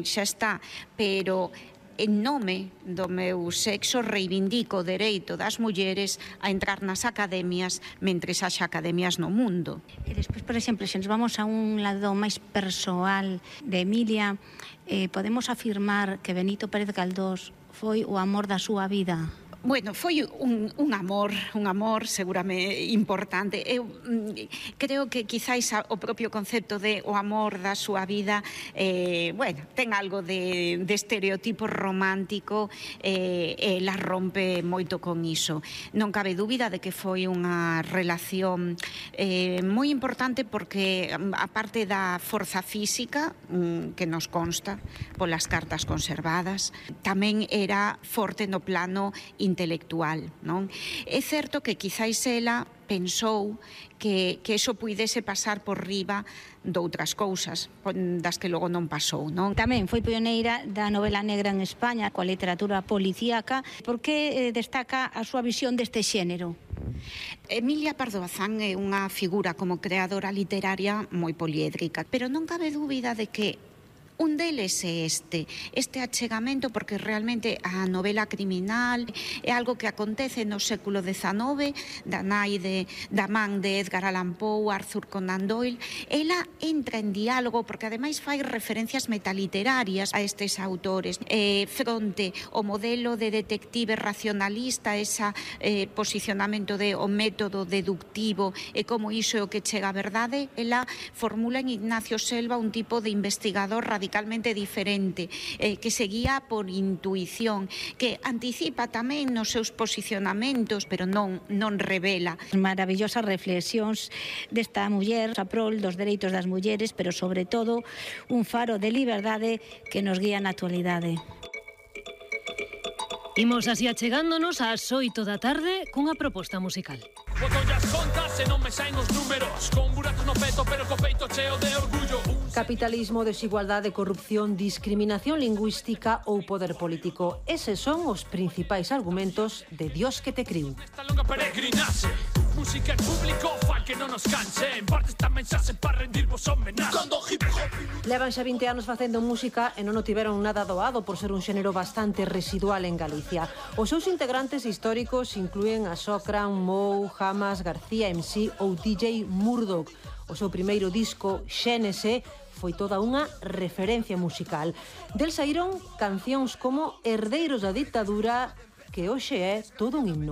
Xa está, pero en nome do meu sexo reivindico o dereito das mulleres a entrar nas academias mentres haxa academias no mundo. E despois, por exemplo, se nos vamos a un lado máis persoal de Emilia, podemos afirmar que Benito Pérez Galdós foi o amor da súa vida. Bueno, foi un amor seguramente importante. Eu creo que quizáis o propio concepto de o amor da súa vida ten algo de estereotipo romántico e la rompe moito con iso. Non cabe dúbida de que foi unha relación moi importante porque a parte da forza física que nos consta polas cartas conservadas, tamén era forte no plano intelectual, non? É certo que quizáis ela pensou que eso puidese pasar por riba doutras cousas das que logo non pasou, non? Tamén foi pioneira da novela negra en España, coa literatura policíaca. Por que destaca a súa visión deste xénero? Emilia Pardo Bazán é unha figura como creadora literaria moi poliédrica, pero non cabe dúbida de que un deles é este achegamento, porque realmente a novela criminal é algo que acontece no século XIX, da man de Edgar Allan Poe, Arthur Conan Doyle. Ela entra en diálogo, porque ademais fai referencias metaliterarias a estes autores, fronte ao modelo de detective racionalista, ese posicionamento de o método deductivo e como iso é o que chega á verdade. Ela formula en Ignacio Selva un tipo de investigador radicalmente diferente, que se guía por intuición, que anticipa tamén nos seus posicionamentos, pero non revela. Maravillosas reflexións desta muller a prol dos dereitos das mulleres, pero sobre todo un faro de liberdade que nos guía na actualidade. Imos así achegándonos ás 8 da tarde cunha proposta musical. Boto as contas e non me saen os números, con buratos no peto pero co peito cheo de orgullo. Capitalismo, desigualdade, corrupción, discriminación lingüística ou poder político. Eses son os principais argumentos de Dios que te criu. Esta longa peregrinaxe, música en público fai que non nos canse, en parte esta mensaxe para rendirvos homenaxe. Levan xa 20 anos facendo música e non o tiveron nada doado por ser un xénero bastante residual en Galicia. Os seus integrantes históricos inclúen a Socran, Mou, Hamas, García MC ou DJ Murdoch. O seu primeiro disco, Xénese, foi toda unha referencia musical. Del saíron cancións como Herdeiros da Ditadura, que hoxe é todo un himno.